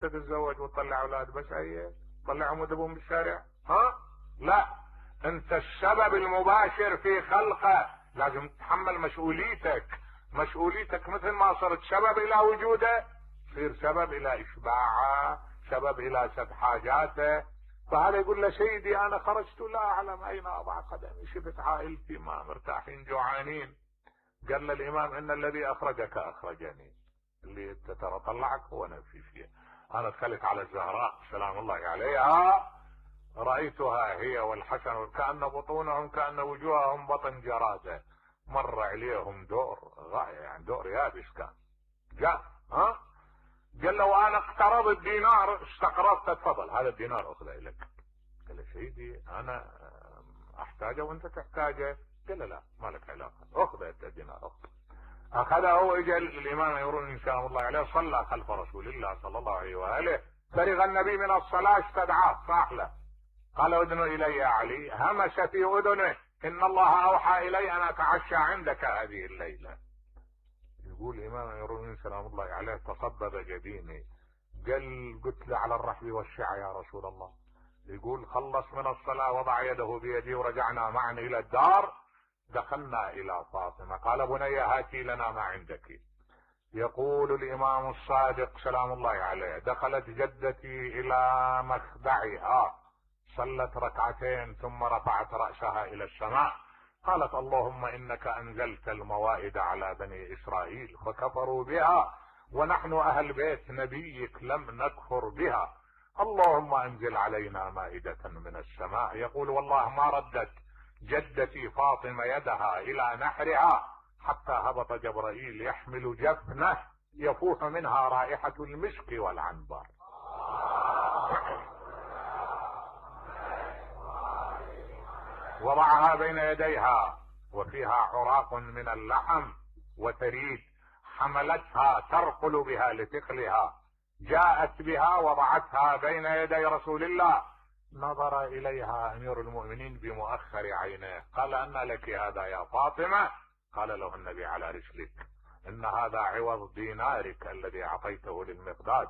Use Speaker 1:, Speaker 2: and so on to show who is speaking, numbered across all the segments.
Speaker 1: تتزوج وتطلع اولاد بس هي طلعهم وذبهم بالشارع؟ ها؟ لا، انت السبب المباشر في خلقه، لازم تتحمل مسؤوليتك مثل ما صرت سبب الى وجوده، تصير سبب الى اشباعه، سبب الى سد حاجاته. فهذا يقول له سيدي انا خرجت لا اعلم اين اضع قدمي، شفت عائلتي ما مرتاحين جوعانين. قال له الامام ان الذي اخرجك اخرجني، اللي انت ترى طلعك هو نفسي فيه. انا دخلت على الزهراء سلام الله عليها، رأيتها هي والحسن كأن بطونهم كأن وجوههم بطن جرادة، مر عليهم دور غاية، يعني دور يابس كان جاء. قال له انا اقترضت دينار استقرضت، تفضل هذا الدينار اخذه لك. قال له سيدي انا احتاجه وانت تحتاجه. قال له لا ما لك علاقة، اخذ الدينار. اخذه واجى الامام يقولون ان شاء الله عليه صلى خلف رسول الله صلى الله عليه واله، فرغ النبي من الصلاة استدعاه صاح له، قال ادن الي يا علي، همس في اذنه ان الله اوحى الي ان اتعشى عندك هذه الليلة. يقول الامام يقولون سلام الله عليه تصبب جبيني، قلت له على الرحب والشع يا رسول الله. يقول خلص من الصلاة وضع يده بيدي ورجعنا معا الى الدار، دخلنا الى فاطمة قال بني هاتي لنا ما عندك. يقول الامام الصادق سلام الله عليه دخلت جدتي الى مخدعها، صلت ركعتين ثم رفعت رأسها الى السماء، قالت اللهم انك انزلت الموائد على بني اسرائيل فكفروا بها، ونحن اهل بيت نبيك لم نكفر بها، اللهم انزل علينا مائدة من السماء. يقول والله ما ردت جدتي فاطمة يدها الى نحرها حتى هبط جبرائيل يحمل جفنه يفوح منها رائحة المسك والعنبر. وضعها بين يديها وفيها عراق من اللحم وتريد، حملتها ترقل بها لثقلها، جاءت بها وضعتها بين يدي رسول الله، نظر اليها امير المؤمنين بمؤخر عينيه، قال ان لك هذا يا فاطمة؟ قال له النبي على رسلك، ان هذا عوض دينارك الذي اعطيته للمقداد.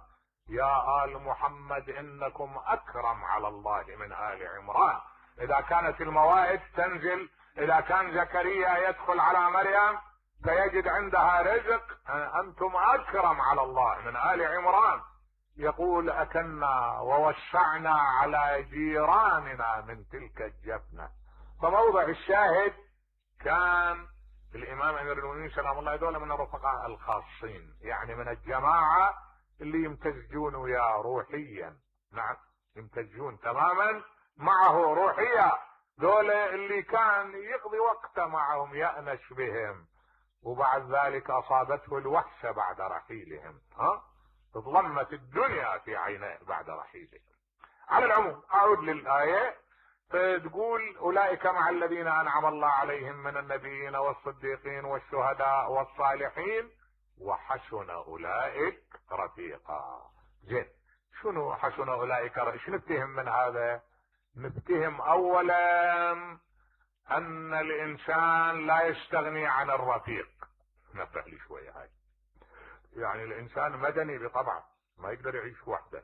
Speaker 1: يا آل محمد انكم اكرم على الله من آل عمران. اذا كانت الموائد تنزل، اذا كان زكريا يدخل على مريم فيجد عندها رزق، انتم اكرم على الله من آل عمران. يقول اكلنا ووسعنا على جيراننا من تلك الجفنة. فموضع الشاهد كان الامام امير المؤمنين سلام الله عليه من الرفقاء الخاصين، يعني من الجماعة اللي يمتزجون وياه روحيا، نعم يمتزجون تماما معه روحيا، دول اللي كان يقضي وقته معهم يأنس بهم، وبعد ذلك اصابته الوحشة بعد رحيلهم، تظلمت الدنيا في عينيه بعد رحيلهم. على العموم اعود للآية، فتقول اولئك مع الذين انعم الله عليهم من النبيين والصديقين والشهداء والصالحين وحسن اولئك رفيقا. زين، شنو حسن اولئك؟ ايش نفتهم من هذا؟ نفتهم اولا ان الانسان لا يستغني عن الرفيق. نبه لي شوية هاي، يعني الانسان مدني بطبعه، ما يقدر يعيش وحده،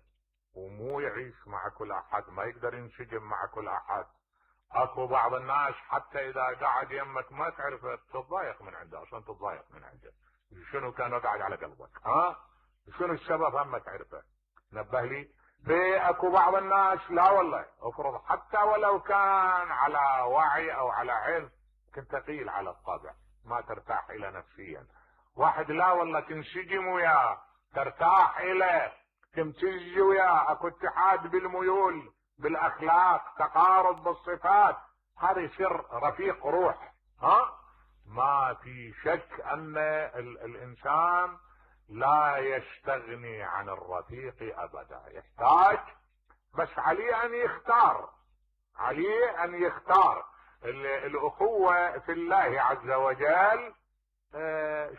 Speaker 1: ومو يعيش مع كل احد، ما يقدر ينسجم مع كل احد. اكو بعض الناس حتى اذا قاعد يمك ما تعرف تتضايق من عنده، اصلا تتضايق من عنده، شنو كان قاعد على قلبك؟ شنو السبب؟ هم تعرفه. نبه لي. في اكو بعض الناس لا والله، افرض حتى ولو كان على وعي او على علم كنت ثقيل على الطبع، ما ترتاح الى نفسيا. واحد لا والله تنسجم وياه، ترتاح اليه، تمتز وياه، اكو اتحاد بالميول بالاخلاق، تقارب بالصفات، هذا يصير رفيق روح. ما في شك ان الانسان لا يستغني عن الرفيق ابدا، يحتاج، بس عليه ان يختار، عليه ان يختار. الاخوة في الله عز وجل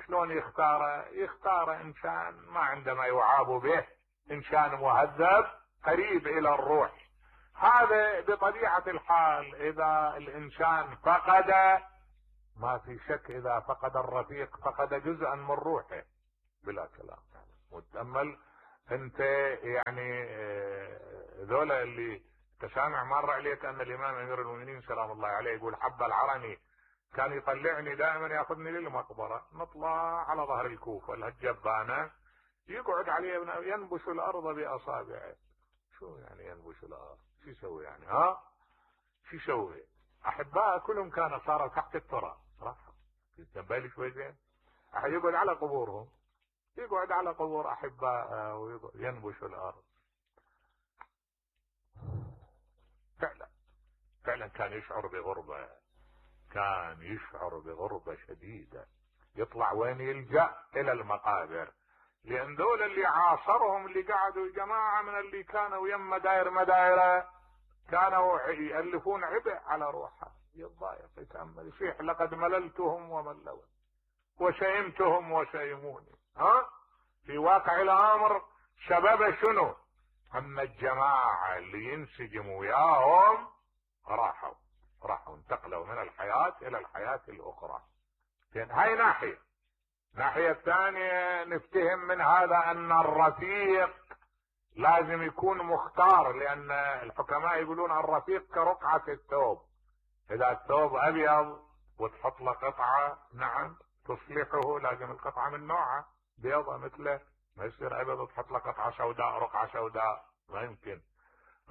Speaker 1: شلون يختار؟ يختار انسان ما عنده ما يعاب به، انسان مهذب قريب الى الروح. هذا بطبيعة الحال اذا الانسان فقد، ما في شك اذا فقد الرفيق فقد جزءا من روحه بلا كلام. وتأمل انت يعني ذولا اللي تسامع مر عليك ان الامام امير المؤمنين سلام الله عليه يقول حب العرني كان يطلعني دائما ياخذني للمقبره، نطلع على ظهر الكوفه الهجبانه يقعد عليه ينبش الارض باصابعه. شو يعني ينبش الارض؟ شو يسوي يعني؟ شو يسوي؟ احباء كلهم كانوا صاروا تحت التراب صراحه. تنبالي شوي زين؟ احد يقعد على قبورهم، يقعد على قبور احباء وينبش الارض. فعلا كان يشعر بغربة، كان يشعر بغربة شديدة. يطلع وين؟ يلجأ الى المقابر. لان دول اللي عاصرهم اللي قعدوا جماعة من اللي كانوا يم مدايره كانوا يألفون عبء على روحه، يتضايق يتأمل يصيح لقد مللتهم وملوني وشيمتهم وشيموني. في واقع الامر سبب شنو؟ اما الجماعة اللي ينسجموا وياهم راحوا انتقلوا من الحياة الى الحياة الاخرى. هاي ناحية الثانية نفتهم من هذا ان الرفيق لازم يكون مختار، لان الحكماء يقولون الرفيق كرقعة الثوب. اذا الثوب ابيض وتحط له قطعة نعم تصلحه، لازم القطعة من نوعه بيضة مثله، ما يصير ابيض وتحط له قطعة سوداء رقعة سوداء، ما يمكن.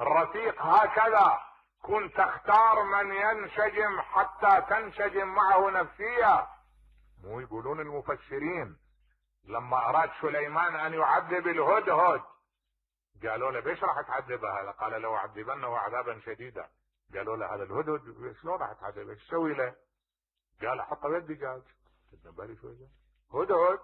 Speaker 1: الرفيق هكذا كن تختار من ينسجم حتى تنسجم معه نفسيا. مو يقولون المفسرين لما اراد سليمان ان يعذب الهدهد قالوا له ليش راح تعذبه هذا؟ قال لو اعذبنه عذابا شديدا. قالوا له هذا الهدهد شلون راح تعذبه؟ ايش تسوي له؟ قال حطه بيد دجاج. بالي شوي هدهد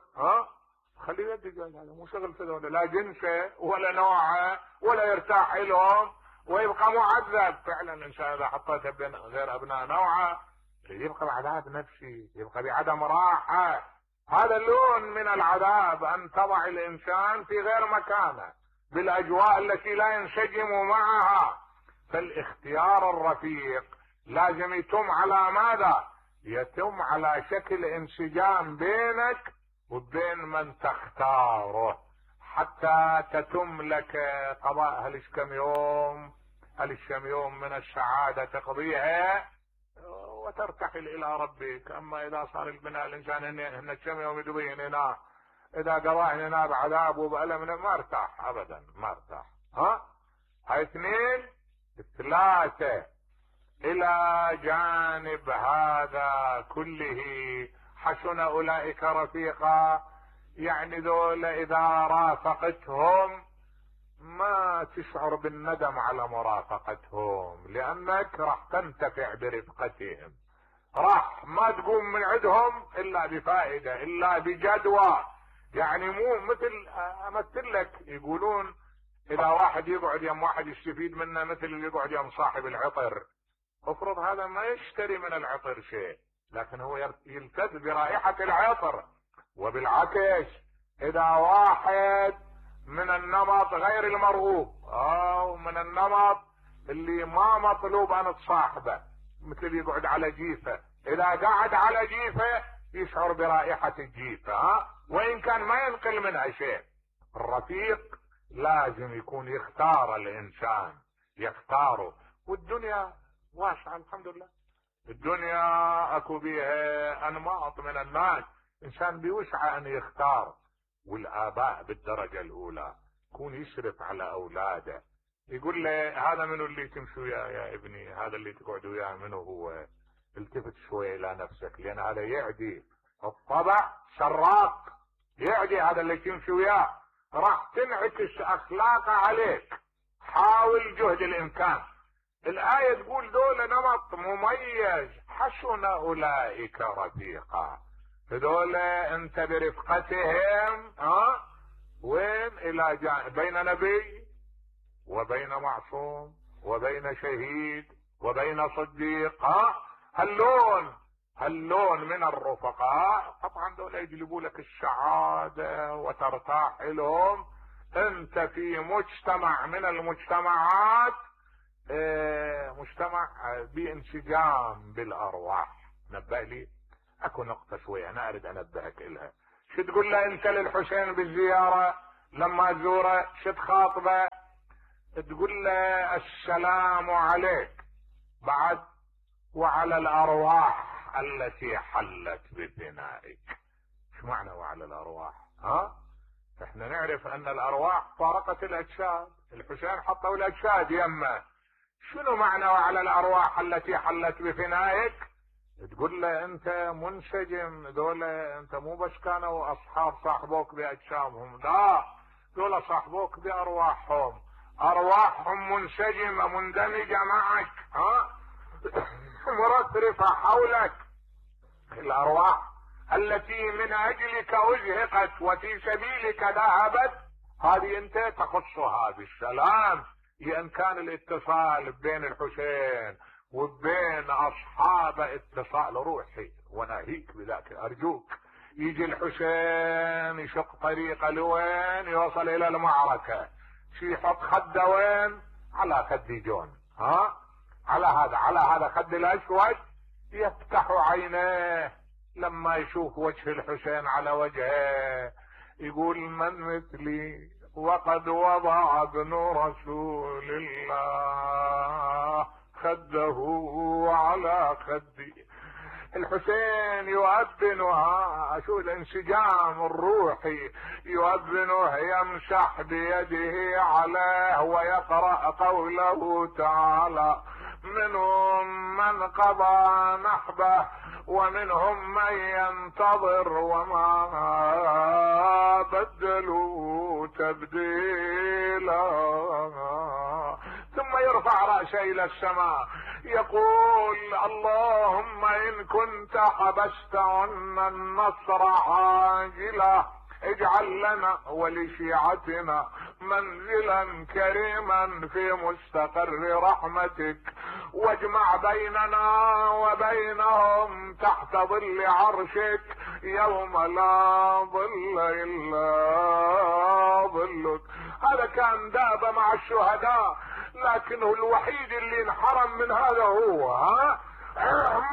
Speaker 1: خليه بيد دجاج، هذا مو شغل في لا جنسه ولا نوعه ولا يرتاح لهم ويبقى معذب. فعلا الانسان اذا حطيته بين غير ابناء نوعه يبقى بعذاب نفسي، يبقى بعدم راحه. هذا لون من العذاب، ان تضع الانسان في غير مكانه بالاجواء التي لا ينسجم معها. فالاختيار الرفيق لازم يتم على ماذا؟ يتم على شكل انسجام بينك وبين من تختاره، حتى تتم لك قضاء هالكم يوم من السعادة تقضيها وترتحل الى ربك. اما اذا صار البناء الانسان هن كم يوم يدوين هنا، اذا قضاه هنا بعذاب وبألم ما ارتاح ابدا، ما ارتاح. هاي 2 3 الى جانب هذا كله حسن اولئك رفيقا. يعني ذول اذا رافقتهم ما تشعر بالندم على مرافقتهم، لانك راح تنتفع برفقتهم، راح ما تقوم من عندهم الا بفائدة الا بجدوى. يعني مو مثل امثل لك، يقولون اذا واحد يقعد يم واحد يستفيد منه مثل اللي يقعد يم صاحب العطر. افرض هذا ما يشتري من العطر شيء، لكن هو يلتذ برائحة العطر. وبالعكس اذا واحد من النمط غير المرغوب او من النمط اللي ما مطلوب ان تصاحبه، مثل يقعد على جيفة، اذا قعد على جيفة يشعر برائحة الجيفة وان كان ما ينقل منها شيء. الرفيق لازم يكون يختار الانسان، يختاره. والدنيا واسعة الحمد لله، الدنيا اكو بيها انماط من الناس، انسان بيوسع ان يختار. والاباء بالدرجة الاولى يكون يشرف على اولاده، يقول له هذا منو اللي تمشي وياه يا ابني، هذا اللي تقعد وياه منو هو، التفت شوي الى نفسك، لان هذا يعدي الطبع سراق، يعدي هذا اللي تمشي وياه، راح تنعكس اخلاقه عليك. حاول جهد الامكان. الآية تقول دول نمط مميز، حسن اولئك رفيقا. هذول انت برفقتهم وين الى بين نبي وبين معصوم وبين شهيد وبين صديق. هاللون من الرفقاء طبعا دول يجلبوا لك السعادة وترتاح لهم. انت في مجتمع من المجتمعات مجتمع بانسجام بالارواح. نبه لي اكو نقطة شوية انا اريد انبهك الها. شو تقول له انت للحسين بالزيارة؟ لما تزوره شو تخاطبه؟ تقول له السلام عليك، بعد وعلى الارواح التي حلت بفنائك. شو معنى وعلى الارواح؟ احنا نعرف ان الارواح فارقت الاجساد، الحسين حطوا الاجساد يمه. شنو معنى وعلى الارواح التي حلت بفنائك؟ تقول له انت منسجم، دولة انت مو بس كانوا اصحاب صاحبوك باجسامهم، لا، دولة صاحبوك بارواحهم، ارواحهم منسجمة مندمجة معك، مرترفة حولك. الارواح التي من اجلك ازهقت وفي سبيلك ذهبت، هذه انت تخصها بالسلام، لان كان الاتصال بين الحسين وبين اصحابه اتصال روحي. وناهيك بذاك، ارجوك يجي الحسين يشق طريقه لوين؟ يوصل الى المعركه، شي يحط خده وين؟ على خد جون، على هذا خد الاسود، يفتح عينيه لما يشوف وجه الحسين على وجهه يقول من مثلي وقد وضع ابن رسول الله خده على خدي. الحسين يؤذنها، شو الانسجام الروحي، يؤذنه يمسح بيده عليه ويقرأ قوله تعالى منهم من قضى نحبه ومنهم من ينتظر وما بدلوا تبديلا. ثم يرفع رأسه إلى السماء يقول اللهم إن كنت حبست عنا النصر عاجلا اجعل لنا ولشيعتنا منزلا كريما في مستقر رحمتك، واجمع بيننا وبينهم تحت ظل عرشك يوم لا ظل إلا ظلك. هذا كان داب مع الشهداء، لكنه الوحيد اللي انحرم من هذا هو،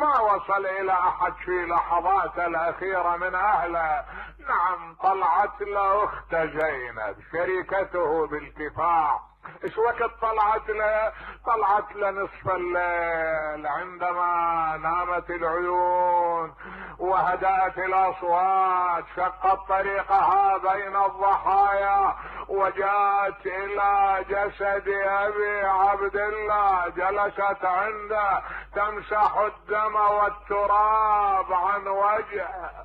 Speaker 1: ما وصل الى احد في لحظات الاخيرة من اهله. نعم طلعت له اخت زينب شريكته بالكفاح، ايش وقت طلعت له؟ طلعت له نصف الليل عندما نامت العيون وهدأت الاصوات، شقت طريقها بين الضحايا وجاءت الى جسد ابي عبد الله، جلست عنده تمسح الدم والتراب عن وجهه